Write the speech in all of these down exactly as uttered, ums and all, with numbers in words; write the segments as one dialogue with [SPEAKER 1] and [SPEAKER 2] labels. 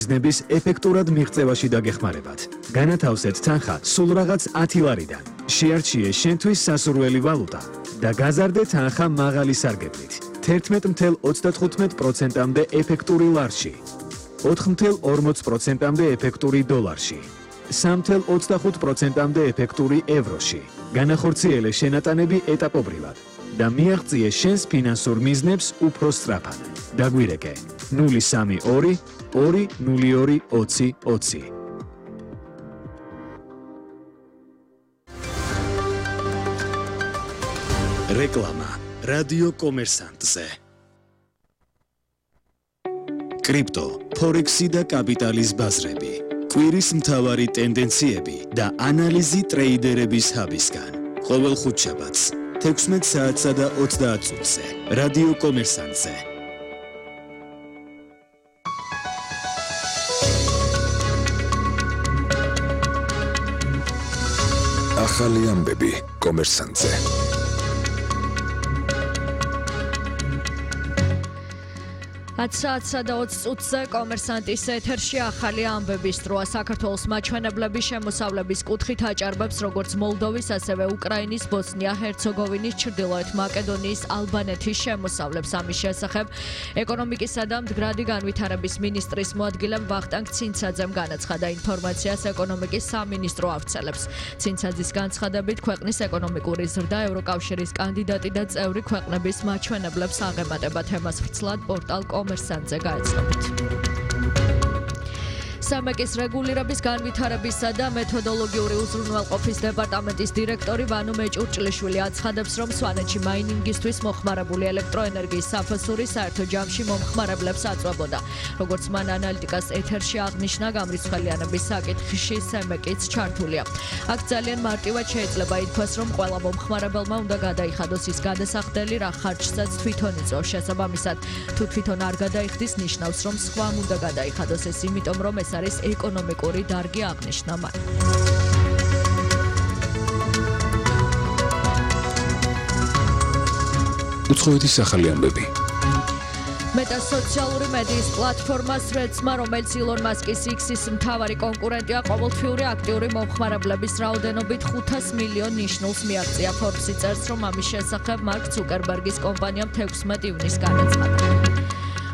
[SPEAKER 1] მიზნების ეფექტურად მიღწევაში დაგეხმარებათ. განათავსეთ თანხა სულ რაღაც ათი ლარიდან. შეარჩიე შენთვის სასურველი ვალუტა და გაზარდე თანხა მაღალი სარგებლით. თერთმეტ ათეულ ოცდათხუთმეტ პროცენტამდე ეფექტური ლარში. ოთხ ათეულ ორმოც პროცენტამდე ეფექტური დოლარში. სამ ათეულ ოცდახუთ პროცენტამდე ეფექტური ევროში. განახორციელე შენატანები ეტაპობრივად და მიაღწიე შენს ფინანსურ მიზნებს უფრო სწრაფად. დაგვირეკე ნული სამი ორი ორი ნული ორი ოცი ოცი. რეკლამა რადიო კომერსანტზე. კრიპტო, ფორექსი და კაპიტალის ბაზრები. კვირის მთავარი ტენდენციები და ანალიზი ტრეიდერების ჰაბისგან. ყოველ ხუთშაბათს თექვსმეტ საათსა და ოცდაათ წუთზე. რადიო კომერსანტზე. ახალი ამბები კომერსანტზე.
[SPEAKER 2] ათ საათსა და ოცი წუთზე კომერსანტის ეთერში ახალი ამბების დროა. საქართველოს მაჩვენებლები შემოსავლების კუთხით აჭარბებს როგორც მოლდოვის, ასევე უკრაინის, ბოსნია, ჰერცეგოვინის, ჩრდილოეთ მაკედონიის, ალბანეთის შემოსავლებს. ამის შესახებ ეკონომიკისა და მდგრადი განვითარების მინისტრის მოადგილემ ვახტანგ ცინცაძემ განაცხადა. ინფორმაციას ეკონომიკის სამინისტრო ავრცელებს. ცინცაძის განცხადებით ქვეყნის ეკონომიკური ზრდა ევროკავშირის კანდიდატი და წევრი ქვეყნების მაჩვენებლებს აღემატება. თემას ვრცლად პორტალ კომერსანტზე გაეცნობით. სამეკის რეგულირების განვითარებისა და მეთოდოლოგიური უზრუნველყოფის დეპარტამენტის დირექტორი ვანო მეჭურჭლიშვილი აცხადებს, რომ სვანეთში მაინინგისთვის მოხმარებული ელექტროენერგიის საფასური საერთო ჯამში მომხმარებლებს აწვებოდა. როგორც მან ანალიტიკას ეთერში აღნიშნა, გამრიცხველიანების საკითხში სამეკიც ჩართულია. აქ ძალიან მარტივად შეიძლება ითქვას, რომ ყველა მომხმარებელმა უნდა გადაიხადოს ის გადასახდელი, რა ხარჯსაც თვითონ იწვევს. შესაბამისად, თუ თვითონ არ გადაიხდის, ნიშნავს, რომ სხვამ უნდა გადაიხადოს ეს, იმიტომ რომ ეს არის ეკონომიკური დარგი, აღნიშნა მან.
[SPEAKER 3] უცხოეთის ახალი ამბები.
[SPEAKER 2] მეტა სოციალური მედიის პლატფორმა Threads-მა, რომელიც ილონ მასკის X-ის მთავარი კონკურენტია, ყოველთვიური აქტიური მომხმარებლების რაოდენობით ხუთას მილიონ ნიშნულს მიაღწია. Forbes-ი წერს, რომ ამის შესახებ მარკ ცუკერბერგის კომპანიამ თექვსმეტ ივნისს განაცხადა.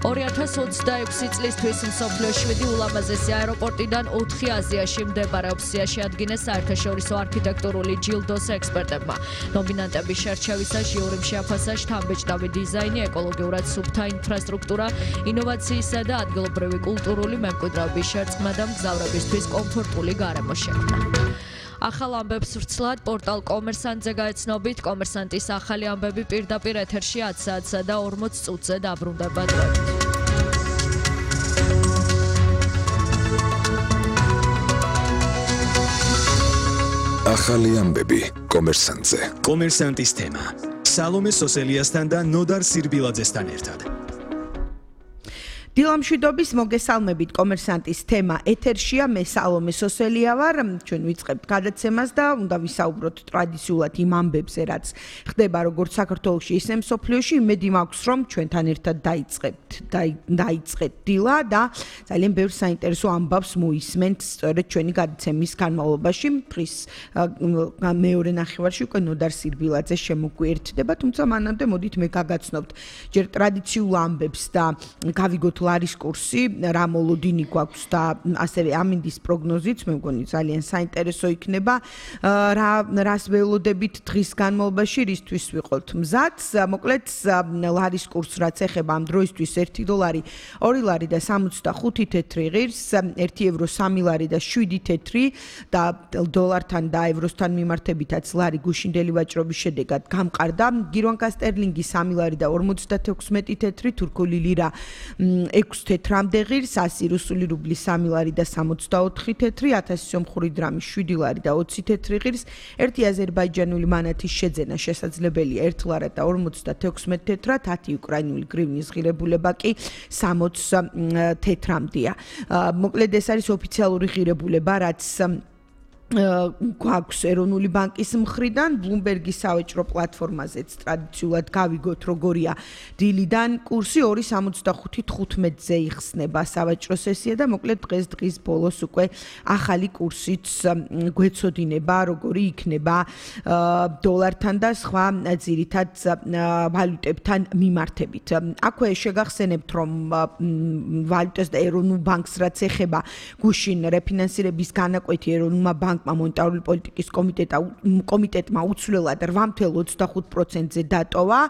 [SPEAKER 2] ორი ათას ოცდაექვსი წლისთვის მსოფლიოს შვიდი ულამაზესი აეროპორტიდან ოთხი აზიაში მდებარეობს. შეადგინეს საერთაშორისო არქიტექტურული ჯილდოს ექსპერტებმა. ნომინანტების შერჩევისა ჟიურიმ შეაფასა შთამბეჭდავი დიზაინი, ეკოლოგიურად სუფთა ინფრასტრუქტურა, ინოვაციისა და ადგილობრივი კულტურული მემკვიდრეობის შერწყმა და მგზავრებისთვის კომფორტული გარემო შექმნა. ახალ ამბებს ვრცლად პორტალ კომერსანტზე გაეცნობით. კომერსანტის ახალი ამბები პირდაპირ ეთერში ათ საათსა და ორმოც წუთზე დაბრუნდება დროებით.
[SPEAKER 3] ახალი ამბები კომერსანტზე.
[SPEAKER 1] კომერსანტის თემა. სალომე სოსელიასთან და ნოდარ სირბილაძესთან ერთად.
[SPEAKER 4] დილამშვიდობის მოგესალმებით. კომერსანტის თემა ეთერშია. მე სალომე სოსელია ვარ. ჩვენ ვიწყებთ გადაცემას და უნდა ვისაუბროთ ტრადიციულად იმ ამბებზე, რაც ხდება როგორც საქართველოში, ისე მსოფლიოში. იმედი მაქვს, რომ ჩვენთან ერთად დაიწყებთ, დაიწყეთ დილა და ძალიან ბევრ საინტერესო ამბავს მოისმენთ სწორედ ჩვენი გადაცემის განმავლობაში. დღის მეორე ნახევარში უკვე ნოდარ სირბილაძე შემოგვიერთდება, თუმცა მანამდე მოდით მე გაგაცნობთ ჯერ ტრადიციულ ამბებს და გავიგოთ ლარის კურსი, რა მოლოდინი გვაქვს და ასევე ამინდის პროგნოზიც, მე მგონი ძალიან საინტერესო იქნება. რა რას ველოდებით დღის განმავლობაში, რისთვის ვიყოთ მზად. მოკლედ ლარის კურს რაც ეხება ამ დროისთვის ერთი დოლარი ორი ლარი და სამოცდახუთი თეთრი ღირს, ერთი ევრო სამი ლარი და შვიდი თეთრი და დოლართან და ევროსთან მიმართებითაც ლარი გუშინდელი ვაჭრობის შედეგად გამყარდა. გირვანკა სტერლინგი სამი ლარი და ორმოცდათექვსმეტი თეთრი, თურქული ლირა ექვსი თეთრამდე ღირს, ასი რუსული რუბლი სამი ლარი და სამოცდაოთხი თეთრი, ათასი სომხური დრამი შვიდი ლარი და ოცი თეთრი ღირს, ერთი აზერბაიჯანული მანათის შეძენა შესაძლებელია ერთ ლარად და ორმოცდათექვსმეტ თეთრად, ათი უკრაინული გრივნის ღირებულება კი სამოც თეთრამდეა. მოკლედ ეს არის ოფიციალური ღირებულება, რაც გვაქვს ეროვნული ბანკის მხრიდან Bloomberg-ის სავაჭრო პლატფორმაზეც ტრადიციულად გავიგოთ როგორია დილიდან კურსი ორი სამოცდახუთი თხუთმეტზე იხსნება სავაჭრო სესია და მოკლედ დღეს დღის ბოლოს უკვე ახალი კურსიც გვეცოდინება როგორი იქნება დოლართან და სხვა ძირითად ვალუტებთან მიმართებით. აქვე შეგახსენებთ რომ ვალუტას და ეროვნულ ბანკს რაც ეხება გუშინ რეფინანსირების განაკვეთი ეროვნულმა ბანკ მონეტარული პოლიტიკის კომიტეტა კომიტეტმა უცვლელად რვა ოცდაოთხ პროცენტზე დატოვა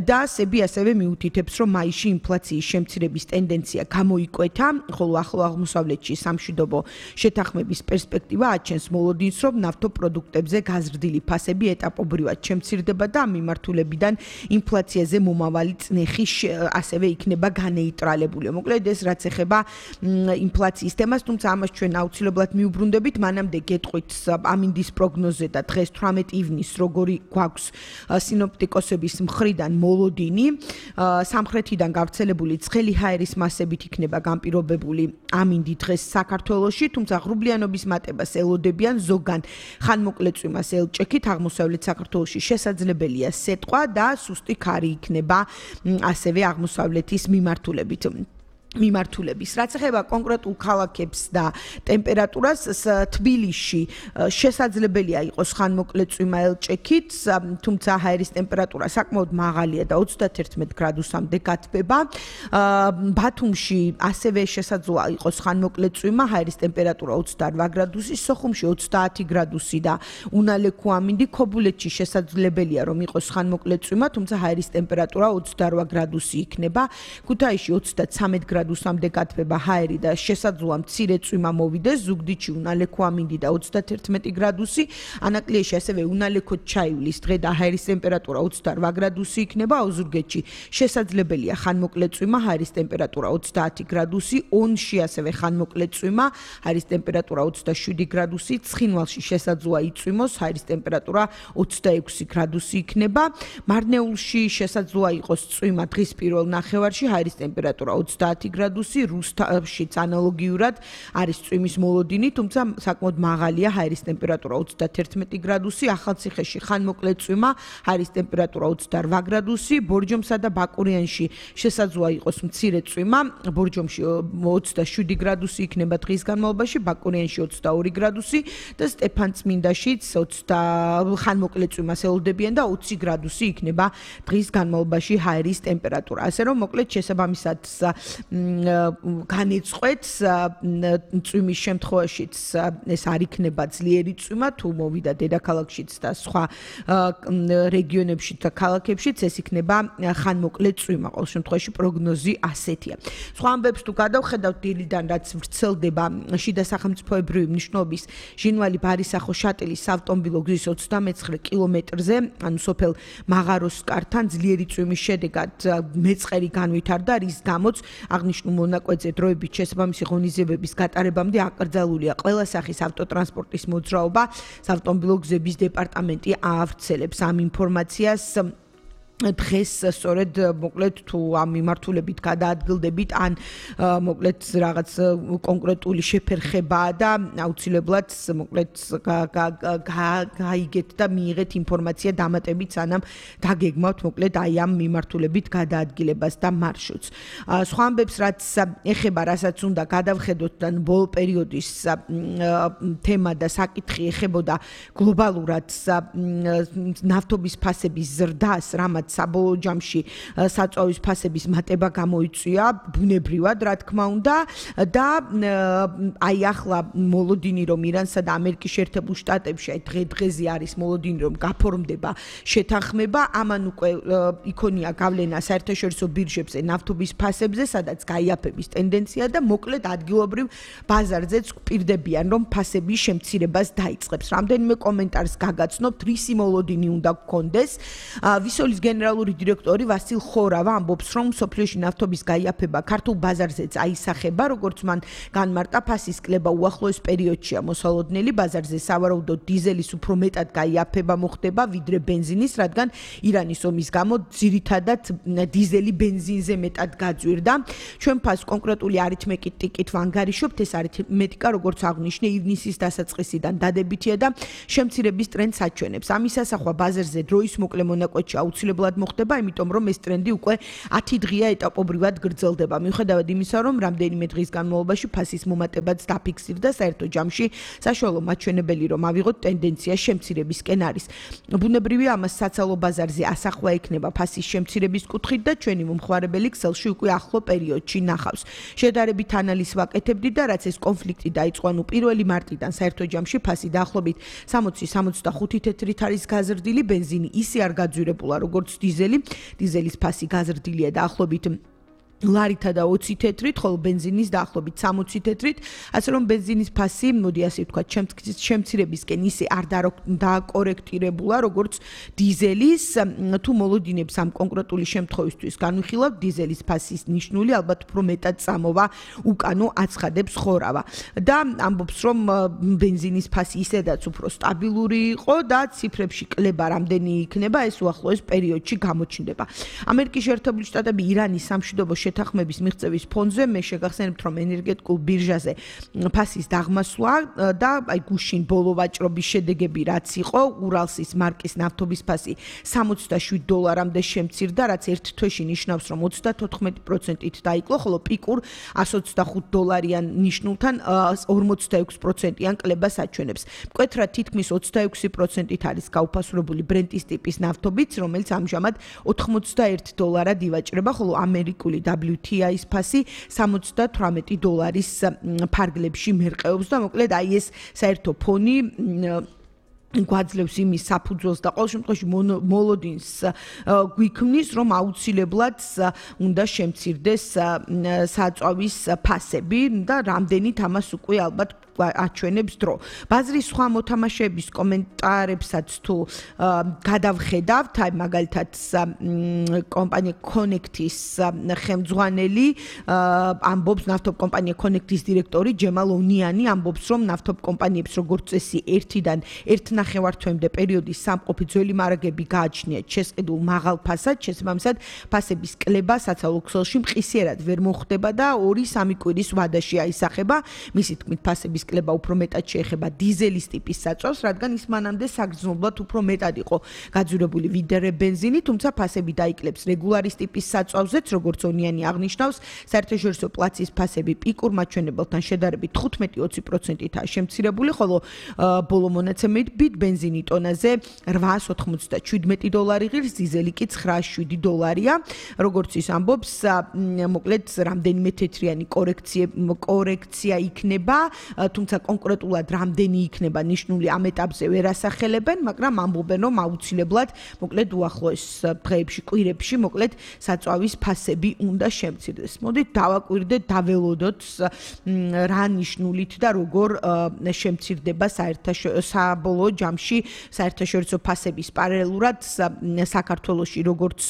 [SPEAKER 4] და სები ასევე მიუთითებს რომ მაისში ინფლაციის შემცირების ტენდენცია გამოიკვეთა, ხოლო ახლო აღმოსავლეთში სამშვიდობო შეთანხმების პერსპექტივა აჩენს მოლოდინს რომ ნავთობპროდუქტებზე გაზრდილი ფასები ეტაპობრივად შემცირდება და ამ მიმართულებიდან ინფლაციაზე მომავალი წნეხი ასევე იქნება განეიტრალებული. მოკლედ ეს რაც ეხება ინფლაციის თემას, თუმცა ამას ჩვენ აუცილებლად მიუბრუნდებით, მანამდე გეტყვით ამინდის პროგნოზე და დღეს თვრამეტ ივნისს როგორი გვაქვს სინოპტიკოსების მხრიდან მოლოდინი სამხრეთიდან გავრცელებული ცხელი ჰაერის მასებით იქნება განპირობებული ამინდი დღეს საქართველოში, თუმცა ღრუბლიანობის მატებას ელოდებიან ზოგან ხანმოკლე წვიმას ელჭექით აღმოსავლეთ საქართველოში შესაძლებელია სეტყვა და სუსტი ქარი იქნება ასევე აღმოსავლეთის მიმართულებით. მიმართულების. რაც ეხება კონკრეტულ ქალაქებს და ტემპერატურას, თბილისში შესაძლებელია იყოს ხანმოკლე წვიმა ელჭექით, თუმცა ჰაერის ტემპერატურა საკმაოდ მაღალია და ოცდათერთმეტ გრადუსამდე გათბება. ბათუმში ასევე შესაძლოა იყოს ხანმოკლე წვიმა, ჰაერის ტემპერატურა ოცდაორ გრადუსი, სოხუმში ოცდაათი გრადუსი და უნალექო ამინდი. ქობულეთში შესაძლებელია რომ იყოს ხანმოკლე წვიმა, თუმცა ჰაერის ტემპერატურა ოცდაორ გრადუსი იქნება. ქუთაისში ოცდაცამეტ გრადუსამდე გათბება ჰაერი და შესაძლოა მცირე წვიმა მოვიდეს, ზუგდიდში უნალექო ამინდი და ოცდათერთმეტი გრადუსი, ანაკლიაში ასევე უნალექოდ ჩაივლის დღე და ჰაერის ტემპერატურა ოცდაორ გრადუსი იქნება, ოზურგეთში შესაძლებელია ხანმოკლე წვიმა, ჰაერის ტემპერატურა ოცდაათი გრადუსი, ონში ასევე ხანმოკლე წვიმა, ჰაერის ტემპერატურა ოცდაშვიდი გრადუსი, ცხინვალში შესაძლოა იწვიმოს, ჰაერის ტემპერატურა ოცდაექვსი გრადუსი იქნება, მარნეულში შესაძლოა იყოს წვიმა დღის პირველ ნახევარში, ჰაერის ტემპერატურა ოცდაათი გრადუსი, რუსთავშიც ანალოგიურად არის წვიმის მოლოდინი, თუმცა საკმაოდ მაღალია ჰაერის ტემპერატურა ოცდათერთმეტი გრადუსი, ახალციხეში ხანმოკლე წვიმა, ჰაერის ტემპერატურა ოცდაორ გრადუსი, ბორჯომსა და ბაკურიანში შესაძლოა იყოს მცირე წვიმა, ბორჯომში ოცდაშვიდი გრადუსი იქნება დღის განმავლობაში, ბაკურიანში ოცდაორი გრადუსი და სტეფანწმინდაშიც ოცდა ხანმოკლე წვიმას ელოდებიან და ოცი გრადუსი იქნება დღის განმავლობაში ჰაერის ტემპერატურა. ასე რომ მოკლედ შესაბამისად განეწყვეტს წვიმის შემთხვევაშიც ეს არ იქნება ძლიერი წვიმა, თუ მოვიდა დედაქალაქშიც და სხვა რეგიონებში და ქალაქებშიც ეს იქნება ხანმოკლე წვიმა. ყოველ შემთხვევაში პროგნოზი ასეთია. სხვა ამბებს თუ გადავხედავთ დილიდან, რაც ვრცელდება შიდა სახელმწიფოებრივი მნიშვნელობის ჟინვალი-ბარისახო-შატილის საავტომობილო გზის ოცდამეცხრე კილომეტრზე, ანუ სოფელ მაღაროსკართან ძლიერი წვიმის შედეგად მეწყერი განვითარდა, რის გამოც აღნიშნულ მონაკვეთზე დროებით შესაბამისი ღონისძიებების გატარებამდე აკრძალულია ყველა სახის ავტოტრანსპორტის მოძრაობა. საავტომობილო გზების დეპარტამენტი აავრცელებს ამ ინფორმაციას დღეს სწორედ მოკლედ თუ ამ მიმართულებით გადაადგილდებით ან მოკლედ რაღაც კონკრეტული შეფერხებაა და აუცილებლად მოკლედ გაიგეთ და მიიღეთ ინფორმაცია დამატებით სანამ დაგეგმავთ მოკლედ აი ამ მიმართულებით გადაადგილებას და მარშრუტს. სხვა ამბებს რაც ეხება რასაც უნდა გადავხედოთ და ბოლო პერიოდის თემა და საკითხი ეხებოდა გლობალურად ნავთობის ფასების ზრდას, რამაც საბოლოო ჯამში საწვავის ფასების მატება გამოიწვია ბუნებრივად, რა თქმა უნდა და აი ახლა მოლოდინი რომ ირანსა და ამერიკის შეერთებულ შტატებში აი დღე-დღეზე არის მოლოდინი რომ გაფორმდება შეთანხმება, ამან უკვე იქონია გავლენა საერთაშორისო ბირჟებზე ნავთობის ფასებზე, სადაც გაიაფების ტენდენცია და მოკლედ ადგილობრივ ბაზარზეც გვპირდებიან რომ ფასების შემცირებას დაიწყებს. რამდენიმე კომენტარს გაგაცნობთ, რისი მოლოდინი უნდა გქონდეს. ვისოლის გენერალური დირექტორი ვასილ ხორავა ამბობს, რომ მსოფლიოში ნავთობის გაიაფება ქართულ ბაზარზეც აისახება, როგორც მან განმარტა, ფასის კლება უახლოეს პერიოდშია მოსალოდნელი, ბაზარზე სავარაუდოდ დიზელის უფრო მეტად გაიაფება მოხდება ვიდრე ბენზინის, რადგან ირანის ომის გამო ძირითადად დიზელი ბენზინზე მეტად გაძვირდა. ჩვენ ფასს კონკრეტული არითმეტიკით ვანგარიშობთ, ეს არითმეტიკა, როგორც აღნიშნე, ივნისის დასაწყისიდან დადებითია და შემცირების ტრენდს აჩვენებს. ამის ასახვა ბაზარზე დროის მოკლე მონაკვეთში აუცილებლად მოხდება, იმიტომ რომ ეს ტრენდი უკვე ათი დღეა ეტაპობრივად გრძელდება. მიუხედავად იმისა, რომ რამდენიმე დღის განმავლობაში ფასის მომატებაც დაფიქსირდა, საერთო ჯამში საშუალო მაჩვენებელი რომ ავიღოთ ტენდენცია შემცირებისკენ არის. ბუნებრივია, ამას საცალო ბაზარზე ასახვა ექნება ფასის შემცირების კუთხით და ჩვენი მომხმარებელი ქსელში უკვე ახლო პერიოდში ნახავს. შედარებით ანალიზს ვაკეთებდით და რაც ეს კონფლიქტი დაიწყო, ანუ პირველი მარტიდან საერთო ჯამში ფასი დაახლოებით სამოცი სამოცდახუთი თეთრით არის გაზრდილი, ბენზინი ისე არ გაძვირებულა როგორც დიზელი. დიზელის ფასი გაზრდილია დაახლოებით ლარითა და ოცი თეთრით, ხოლო ბენზინის დაახლოებით სამოცი თეთრით, ასე რომ ბენზინის ფასი, მოდი ასე ვთქვათ, შემცირებისკენ ისე არ დააკორექტირებულა, როგორც დიზელის, თუ მოლოდინებს ამ კონკრეტული შემთხვევისთვის განვიხილავთ, დიზელის ფასის ნიშნული ალბათ უფრო მეტად წამოვა უკანო აცხადებს ხორავა. და ამბობს, რომ ბენზინის ფასი ისედაც უფრო სტაბილური იყო და ციფრებში კლება რამდენი იქნება, ეს უახლოეს პერიოდში გამოჩნდება. ამერიკის შეერთებული შტატები ირანის სამშვიდობო შეთანხმების მიღწევის ფონზე მე შეგახსენებთ, რომ ენერგეტიკულ ბირჟაზე ფასის დაღმასვლა და აი გუშინ ბოლო ვაჭრობის შედეგები რაც იყო, ურალსის მარკის ნავთობის ფასი სამოცდაშვიდ დოლარამდე შემცირდა, რაც ერთ თვეში ნიშნავს, რომ ოცდათოთხმეტი პროცენტით დაიკლო, ხოლო პიკურ εκατს ოცდახუთ დოლარიან ნიშნულთან ორმოცდაექვსი პროცენტიან კლებას აჩვენებს. მკვეთრად თითქმის ოცდაექვსი პროცენტით არის გაუფასურებული ბრენტის ტიპის ნავთობიც, რომელიც ამჟამად ოთხმოცდაერთი დოლარად ივაჭრება, ხოლო ამერიკული დაბლიუ თი აის ფასი სამოცდათვრამეტი დოლარის ფარგლებში მერყეობს და მოკლედ აი ეს საერთო ფონი გვაძლევს იმის საფუძველს და ყოველ შემთხვევაში მოლოდინს გვიქმნის, რომ აუცილებლად უნდა შემცირდეს საწვავის ფასები და რამდენით ამას უკვე ალბათ აჩვენებს დრო. ბაზრის სხვა მოთამაშეების კომენტარებსაც თუ გადავხედავთ, აი მაგალითად კომპანია Connect-ის ხელმძღვანელი ამბობს, ნავთობ კომპანია Connect-ის დირექტორი ჯემალ ონიანი ამბობს, რომ ნავთობ კომპანიებს როგორც წესი ერთიდან ერთ ნახევართვემდე პერიოდის სამყოფი ძველი მარაგები გააჩნიათ შესყიდულ მაღალ ფასად, შესაბამისად ფასების კლება საცალო ქსელში მყისიერად ვერ მოხდება და ორი სამი კვირის ვადაში აისახება. მისი თქმით, ფასების კლება უფრო მეტად შეეხება დიზელის ტიპის საწვავს, რადგან ის მანამდე საგრძნობლად უფრო მეტად იყო გაძვირებული ვიდრე ბენზინი, თუმცა ფასები დაიკლებს რეგულარის ტიპის საწვავზეც, როგორც ონიანი აღნიშნავს, საერთაშორისო პლაცის ფასები პიკურ მაჩვენებელთან შედარებით თხუთმეტი ოცი პროცენტითაა შემცირებული, ხოლო ბოლო მონაცემებით ბენზინი ტონაზე რვაას ოთხმოცდაშვიდმეტი დოლარი ღირს, დიზელი კი ცხრაას შვიდი დოლარია. როგორც ის ამბობს, მოკლედ რამდენიმე თეთრიანი კორექცია იქნება, თუმცა კონკრეტულად რამდენი იქნება ნიშნული ამ ეტაპზე ვერ ასახელებენ, მაგრამ ამბობენ, რომ აუცილებლად მოკლედ უახლოეს დღეებში, კვირებში მოკლედ საწვავის ფასები უნდა შემცირდეს. მოდით დავაკვირდეთ, დაველოდოთ რა ნიშნულით და როგორ შემცირდება საბოლოო ჯამში საერთაშორისო ფასების პარალელურად საქართველოში როგორც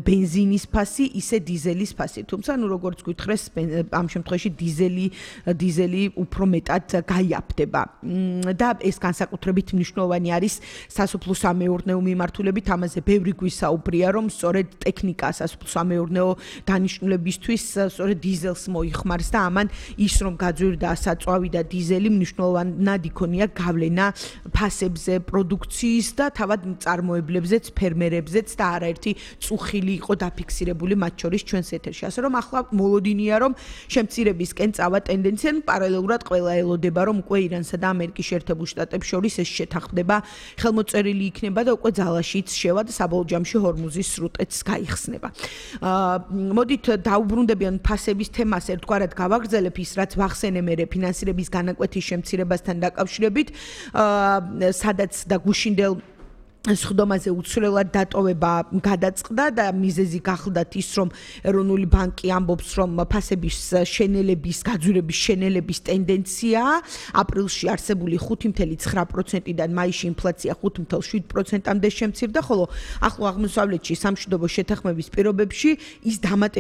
[SPEAKER 4] ბენზინის ფასი, ისე დიზელის ფასი. თუმცა ნუ როგორც გითხრეს, ამ შემთხვევაში დიზელი დიზელი უფრო მეტად გაიაფდება და ეს განსაკუთრებით მნიშვნელოვანი არის სასოფლო-სამეურნეო მიმართულებით. ამაზე ბევრი გვისაუბრია, რომ სწორედ ტექნიკა სასოფლო-სამეურნეო დანიშნულებისთვის სწორედ დიზელს მოიხმარს და ამან ის რომ გაძვირდა საწვავი და დიზელი მნიშვნელოვნად იქონია გავლენა ფასებზე, პროდუქციის და თავად მწარმოებლებზეც, ფერმერებზეც და არაერთი წუხილი იყო დაფიქსირებული მათ შორის ჩვენს ეთერში. ასე რომ ახლა მოლოდინია, რომ შემცირებისკენ წავა ტენდენცია, პარალელურად ყველა ელოდება, რომ უკვე ირანსა და ამერიკის შეერთებულ შტატებს შორის ეს შეთანხმება ხელმოწერილი იქნება და უკვე ძალაშიც შევა და საბოლოო ჯამში ჰორმუზის სრუტეც გაიხსნება. მოდით დაუბრუნდებიან ფასების თემას ერთგვარად გავაგრძელებ ის, რაც ვახსენე მერე ფინანსირების განაკვეთის შემცირებასთან დაკავშირებით, სადაც და გუშინდელ სხდომაზე უცვლელად დატოვება გადაწყდა და მიზეზი გახლდათ ის, რომ ეროვნული ბანკი ამბობს, რომ ფასების შენელების, გაძვირების შენელების ტენდენციაა. აპრილში არსებული ხუთი ფاصლე ცხრა პროცენტიდან მაისში ინფლაცია ხუთი ფاصლე შვიდ პროცენტამდე შემცირდა, ხოლო ახლო აღმოსავლეთში სამშვიდობო შეთანხმების პირობებში ის დამატებით